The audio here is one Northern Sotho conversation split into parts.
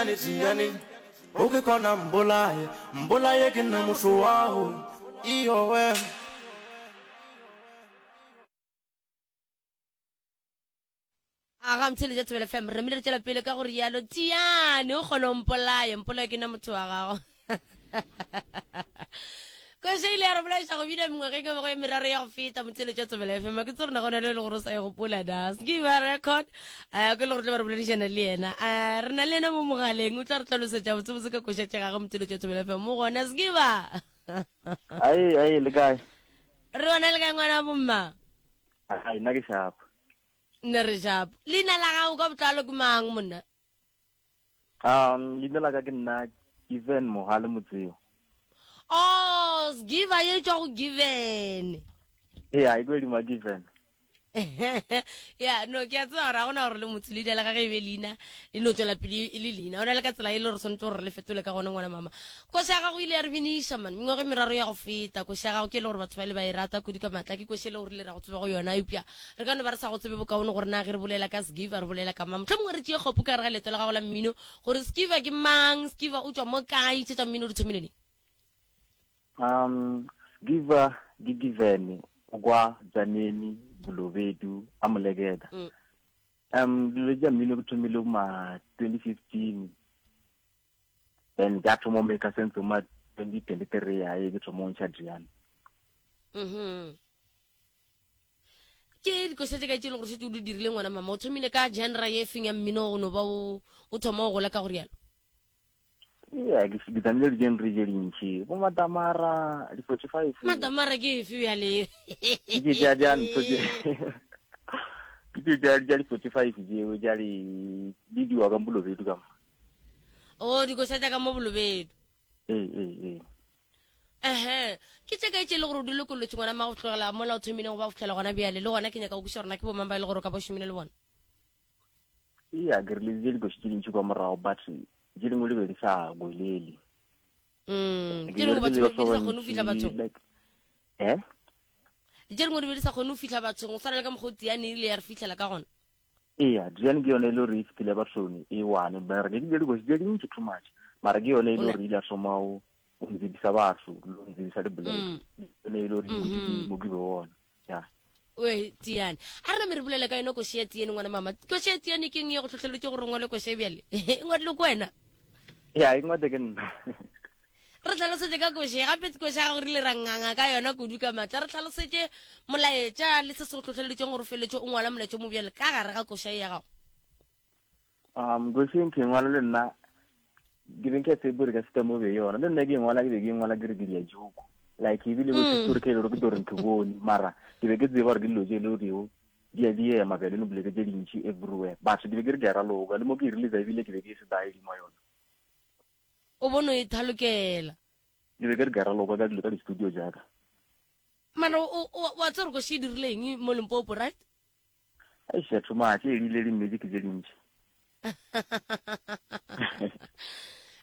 Tiyane, o ke kona mbolaye, mbolaye ke nna motho wago, iyowe. A ga mtheletša Thobela FM, re namile re tšwela pele ka go rialo. Tiyane, o kgona o mpolaye, mpolaye ke nna motho wa gago. Koša ile ya re bolaiša go bina mengwageng e mengwe e meraro ya go feta motheletša Thobela FM. Ke tsore na gona le e le gore o sa e gopola na. Skiba record, eh, ke le gore tlo ba re boledišana le yena. Eh, re na le yena mo mogaleng, o tla re hlalosetša botsebotse ka koša tša gagwe motheletša Thobela FM. Mo gona, Skiba. Ai, ai, le kae? Re gona le kae ngwana bomma? Ai, nna ke sharp. Nne re sharp. Leina la gago ka botlalo ke mang monna? Um, leina la ka ke nna Given Mohale Motseo. Oh, Giver ye tšwa go Given. Ee, e ko dima Given. ya no ke a tseba gore ga gona gore le motho leina la gage e be leina le no tswela pele e le leina o na le ka tsela e le gore tshwanetse gore le fetole ka gone ngwana mama koša ya gago ile ya re biniša man mengwaga e meraro ya go feta koša ya gago ke e le gore batho ba le ba e rata kudu ka maatla ke koša e le gore le ra go tseba go yona eupša Re ka no ba re sa go tsebe bokaone gore na ge re bolela ka Skiva re bolela ka mang. Mohlomongwe re tšee kgopu ka gare ga leeto la gago la mmino gore Skiva ke mang, Skiva o tšwa mo kae, tše tša mmino di thomile neng? Um, Skiva ke Given o kwa Dzaneni, Bolobedu, a Moleketa. Mm. Um, dilo tša mmino ke thomile ma 2015 then ka thoma make sense ma 2023 ya e ke thoma go ntšha Driana. Mhm. Ke dikoša tše kae tše e le gore šetše o di dirile ngwana mama? O thomile ka genre ye feng ya mmino go no ba o o thoma go gola ka go rialo? Yeah, ke ke tsamile di-genre tše dintši bo matamara di-45 Matamara ke efe bjale? ke tša tša ntho tše ke tše tša tša di-45 tšeo tša di di diwa ka bolobedu ka mo O dikoša tša ka mo bolobedu. ee ee ee Ehe, ke tše kae tše e le gore o di lokolotše ngwana mma go tlogela mola o thomileng go ba go fihlela gona bjale? Le gona ke nyaka go kwešiša gore na ke bomang ba e le gore o ka ba o šomile le bona. Eya, ke releasitše dikoši tše dintši kwa morago but tše dingwe di be di sa gwelele. Mm, Ke tše dingwe batho berekile ba le be di sa batho ba kgone go fihla bantši bathong. like eh Tše dingwe di be di sa kgone go fihla bathong, go swana le ka mokgwa o Tiane e ile ya re fihlela ka gona. Eya, Tiane ke yone e le gore e fetile bathong e one, mara ke dile dikoši tše dintši too much, mara ke yone e le O ne gore e ile ya thoma go o ntsebisa batho le o ntsebisa le boleke Mm. e ne e le gore Mhm. mo ke be ona ya oe tiane a re name re bolele ka yone koši ya tiane ngwana mama koši ya tiane ke eng ye go tlhotlheletse gore o ngwale koši e bjale e ngwadile ko wena ya e ngwate ke nna re tlhalosetse ka koši gape koši ya gago re ile ra nganga ka yona kudu ka maatla re tlhalosetse molaetša le se se go tlhotlheleditseng gore o feleletse o ngwala molaetša o mo bjale ka gare ga koša ye ya gago Um, koši nke ngwala le nna ke be nka tsebe gore ka feta mo be yona le nna ke ngwala ke be ke ngwala ke re ke dia joke like ebile bo story ke le gore ke tlo re ke bone mara ke be ke tseba gore ke dilo tse e le goreo di a di ema bjale no boleke tse dintši everywhere but ke be ke re ke a raloka le mo ke e releasa ebile ke be ke se dial mo yona o bone o e thalokela ke be ke re ke a raloka ka dilo ka di-studio jaaka mara wa tseba gore koši e dirile eng mo limpopo right Eish, too much, e rile di-music tše dintši.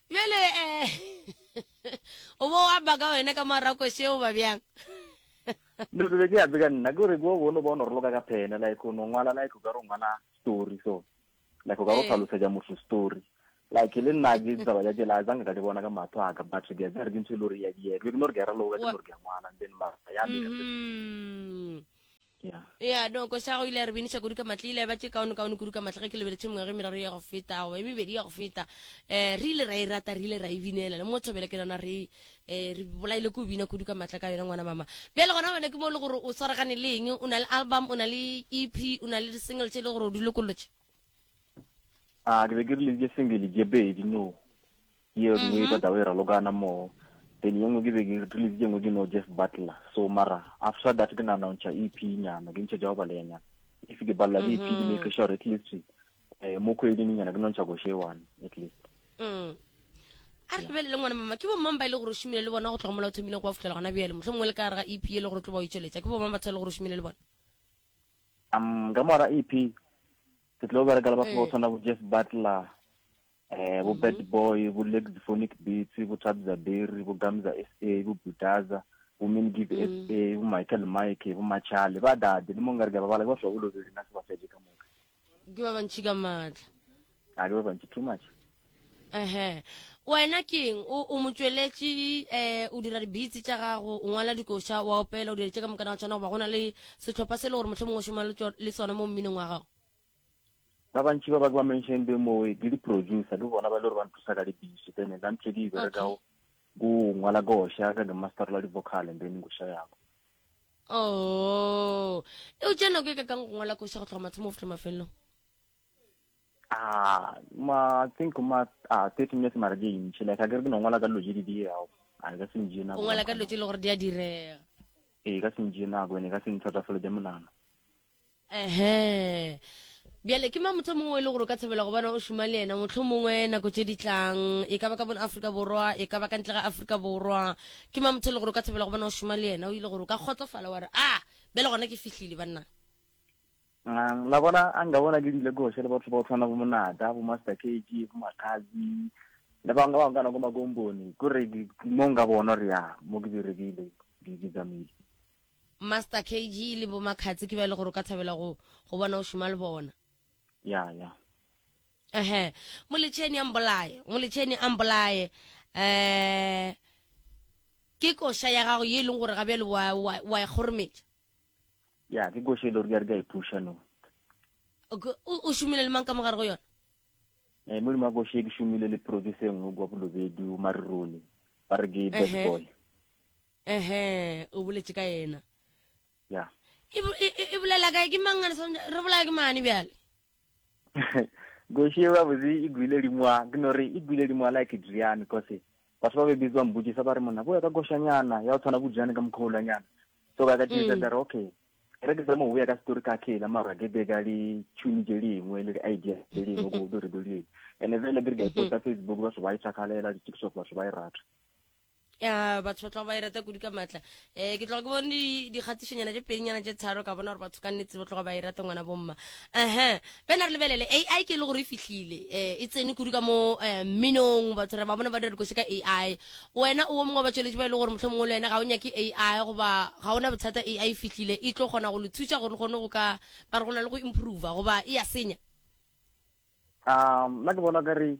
Bjale eh o bo wa baka wena ka morago šeo ba bjang? No ke be ke ape ka nna ke gore ke o bone ba o no roloka ka phene like o no ngwala like o ka re o ngwala story so like o ka re o Eh. hlalosetša motho story like le nna ke taba tša tšela zange ka di bona ka mahlo a ka but ke a tseba gore ke ntho e le gore ya diega ke be ke no re ke a raloka ke Wa no re ke a ngwala and then mara ya make sense Mhm. Yeah. ya no koša go ile ya re biniša kudu ka matla ile ya ba tše kaone kaone kudu ka matla ge ke lebeletše mengwaga e meraro ya go feta goba e mebedi ya go feta um re ile ra e rata re ile ra e binela le mo thobele ke nana re um re bolaile ko bina kudu ka matla ka yona ngwana mama bjale gona wena ke mo e le gore o swaragane le eng o na le album o na le ep o na le di-single tše e le gore o di lokolotše a ke be ke release single tše pedi no ye nngwe mm-hmm. ka taba e ralokana mo then ye nngwe ke be ke release ye nngwe ke no Jeff Butler so mara after that ke nana ntšha EP nyana ke ntšha tša go baleya nyana if ke balela ke EP ke make mm-hmm. sure at least eh mo kgweding nyana ke no ntšha koše one at least mm. a re lebelele ngwana mama ke bomang ba e le gore o šomile le bona go tloga mola o thomileng go ba fitlhela gona bjale mohlho mongwe le ka gare ga ep e le gore o tlo ba o itšweletša ke bomang batho e le gore o šomile le bona um ka mora ep ke tlo bereka le batho ba go ee. tshwana bo Jeff Butler eh bo Bad mhm. Boy bo Lexophonic Beats bo Thabza Berry bo Gamza SA bo Budaza bo Min Give mm. SA bo Michael Mike bo Machale ba dade le mo nkare ke ba bala ke ba hlobolo le nna se ba fetše ka moka ke ba bantši ka maatla a ke ba bantši too much. Ehe. Wena ke eng? O, o motšweletši, eh, o dira di-beats tša gago, o ngwala dikoša, wa opela, o dira tše ka moka ga tšona, goba go na le sehlopha se e le gore mohlomongwe o šoma le tšo- le sona mo mminong wa gago? Ba bantši ba ba ke ba mentioned mo ke di-producer, ke bona ba e le gore ba nthusa ka di-beats, then nna ntho e ke e berekago ke go ngwala koša, ka ke masterla di-vocal and then koša ya ka. Oh, e o tšea nako e kakang go ngwala koša go tloga mathomo go fihla mafelelong? Ah, ma I think ma ah 30 minutes mara ke ntši like a ke re ke no ngwala ka dilo tše di diegago a e ka se njee O nako ngwala ka dilo tše e le gore di a direga. Ee, e ka se njee nako ene e ka se nthatafaletse monagano. Ehe. Bjale ke mang motho mongwe e le gore o ka thabela go bona o šoma le yena motlho mongwe nako tše di tlang e ka ba ka bona Afrika Borwa e ka ba ka ntle ga Afrika Borwa ke mang motho e le gore o ka thabela go bona o šoma le yena o ile gore o ka kgotsofala wa re a bjale gona ke fihlile banna La bona a nka bona ke dile koše le batho ba go tshwana bo Monata, bo Master KG, bo Makhazi, le bangwe ba bangwe ka nako makomboni. Kore mo nka bona gore ya mo ke berekile, ke tsamaile. Master KG le bo Makhazi ke ba e le gore o ka thabela go go bona o šoma le bona. Ya, ya. Ehe. Moletšheni a mbolaye, moletšheni a mbolaye. Eh ke koša ya gago ye e leng gore ga bjale wa wa wa e kgorometša. Ya, ke koša e le gore ke a re ke a e pusha no. Okay, o, o šomile le mang ka mogare go yona? Eh, mo godimo ga koša e ke šomile le producer e nngwe kwa Bolobedu, Marirone. Ba re ke Bad Boy. Ehe, o boletše ka yena. Ya. E, e, e, e bolela kae ke mang re bolaya ke mane bjale? Koši e gabotse e gwile dimoa, ke no re e gwile dimoa like Drian cause batho ba be bitsa mbotšisa ba re monna boya ka košanyana ya go tshwana bo Drian ka mokgolanyana. So ka ka tšisa mm. re okay re ke zama go boya ka story ka khela mara ke be ka di tune tše dingwe le di-idea tše dingwe go do re do di and vele ke re ka e posta Facebook batho ba e thakalela di-TikTok batho ba e rata. Ya, batho ba tloga ba e rata kudu ka maatla. Um ke tloga ke bone dikgatišonyana tše pedinyana tše tharo ka bona gore batho ka nnete ba tloga ba e rata ngwana bomma. Ehe, bena re lebelele AI ke e le gore e fihlile um e tsene kudu ka mo um mminong, batho re ba bona ba dira dikoši ka AI. Wena o wo mongwe wa batšweletši ba e le gore mohlomongwe le wena ga o nyake AI goba ga o na bothata AI e fihlile e tlo kgona go le thuša gore le kgone go ka ba re go na le go improve goba e ya senya? Um, nna ke bona ka re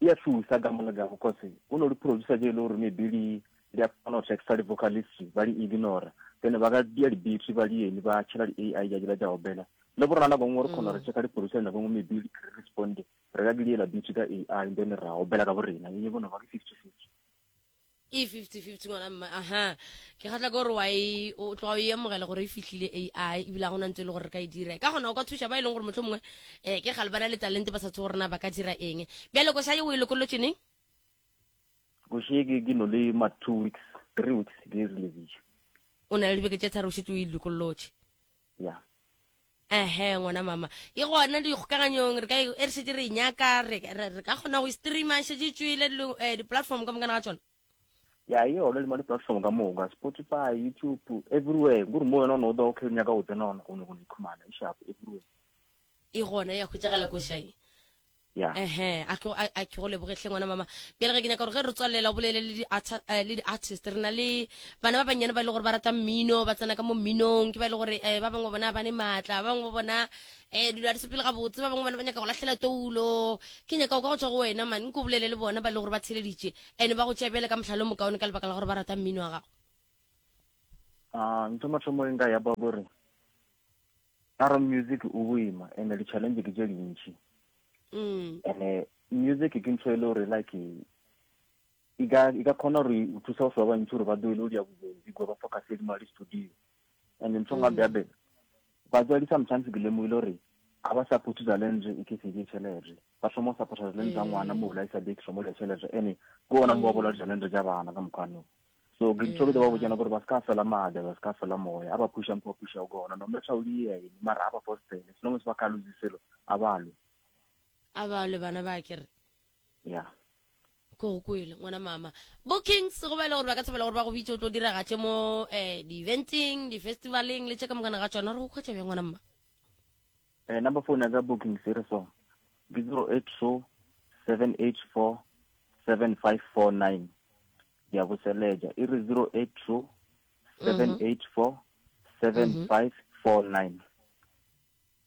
E a thusa ka mo le ka cause go no di producer tše e le gore maybe di di a kgona go texta di vocalist ba di ignora then ba ka dia di beats ba di eng ba tšhela di AI ja dila tša opela le bo rona nako nngwe re kgona re checka di producer nako nngwe maybe di responde re ka diela beats ka AI then ra opela ka bo rena e bona ba ke 50 50. E 50-50 ngwana mma aha ke kgatla ke gore wa e o tloga o e amogela gore e fihlile AI ebile ga gona ntse e le gore re ka e dira ka gona o ka thuša ba e leng gore motlho mongwe um ke gale ba na le talente ba sa tse gore na ba ka dira eng bjale koša ye o e lokolotše neng? Koša ye ke no le ma 2 weeks 3 weeks ke e releasitše. O na le dibeke tše tharo o šetše o e lokolotše. Ya. Ehe, ngwana mama. E gona dikgokaganyong, re ka e e re šetše re e nyaka, re, re, re ka kgona go e streama, e šetše e tšwele dilo, eh, di-platform ka mokana ga tšona. Ya, e gona le mo di-platform ka moka, Spotify, YouTube, everywhere. Kore mo wena o no o okay o nyaka go tsena gona, o nyaka go ikhumana, e sharp everywhere. E gona ya hwetšagala koša e. Ya. Ehe, a ke a a ke go leboge hle ngwana mama. Bjale ge ke nyaka gore ge re tswalela o bolele le di eh, le di-artist re na le bana ba bannyane ba e le gore ba rata mmino, ba tsena ka mo mminong, ke ba e le gore eh, ba bangwe bona ba ne maatla, ba bangwe ba bona eh dilo ga di sepele gabotse, ba bangwe bona ba nyaka go lahlela toulo. Ke nyaka go ka go tswa go wena man, nko bolele le bona ba e le gore ba theleditše and ba go tšea bjale ka mohlala o mokaone ka lebaka la gore ba rata mmino wa gago. Ah, ntho mathomo e nka ya ba gore A re music o boima and di challenge ke tše dintši. Mm. And music ke ntho e le gore like e ka e ka kgona gore o thusa batho ba bantši gore ba doele o dia bobedi go ba focus le mali studio. And ntho nga bja be batswadi sometimes ke lemogile gore ga ba support talent e ke se ke tšhelete ba thoma go support talent tsa ngwana mo la isa big mo le tšhelete ene ke ona mo ba bola talent tša bana ka mokgwa no. So ke ntho ke ba botšana gore ba se ka fela maatla, ba se ka fela moya, a ba pusha mpo ba pusha gona, no matter o di eng, mara a ba fostele, as long as ba ka lose selo, a ba lwe. A ba lwe bana ba ke re. Yeah. Ko go kwele ngwana mama. Bookings go ba e le gore ba ka thabela gore ba go bitse o tlo diragatše mo eh di-eventing, di-festivaleng le tše ka mokana ga tšona re go khwetša bjang ngwana mma? Eh, number phone ya ka bookings e re so ke 082 784 7549 Ke a boseletša. E re 082 784 7549.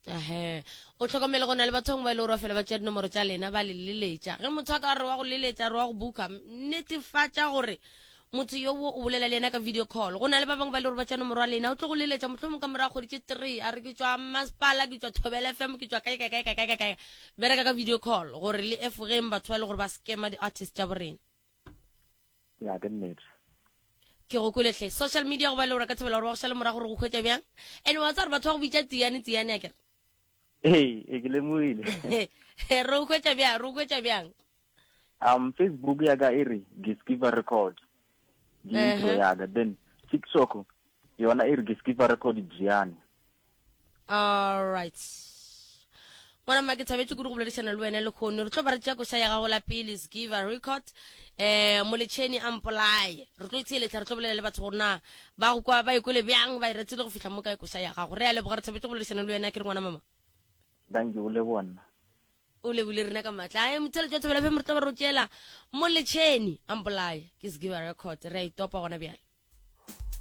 Ahe. O hlokomele go na le batho bangwe ba e le gore ba fela ba tšea dinomoro tša lena ba le leletša. Ge motho a ka re wa go leletša re wa go buka, netefatša gore motho yo o bolela le yena ka video call. Go na le ba bangwe ba e le gore ba tšea nomoro ya lena, o tlo go leletša mohlomong ka morago kgwedi tše three a re ke tšwa masepala, ke tšwa Thobela FM, ke tšwa kae kae kae kae kae kae. Bereka ka video call gore le efogeng batho ba e le gore ba scamma di-artist tša borena. Ya, ke nnete. Ke go kwele hle. Social media go ba le gore ka thabela gore ba go šale morago gore go hwetša bjang. And wa tseba gore batho ba go bitša Tsiane Tsiane akere. Ee, ee ke lemogile. Re go hwetša bjang, re go hwetša bjang? Facebook ya ka e re Giskiva Record. Ke intro ya ka. Then TikTok yona e re Giskiva Record Gianni. Alright. Ngwana mma ke thabetše kudu go boledišana le wena lekgono. Re tlo ba re tšea koša ya gago la pele Skiva Record. Eh moletšheni a mpolaye. Re tlo itheeletša re tlo bolela le batho gore na ba go kwa ba ikwele bjang ba e retile go fihla mo kae koša ya gago. Re a leboga re thabetše go boledišana le wena ke re ngwana mama. Thank you, o leboga nna. O lebile rena ka matla. Ae motheletši wa Thobela FM re tlo ba re o tšeela moletšheni a mpolaye ke Skiva Record. Re a itopa gona bjale.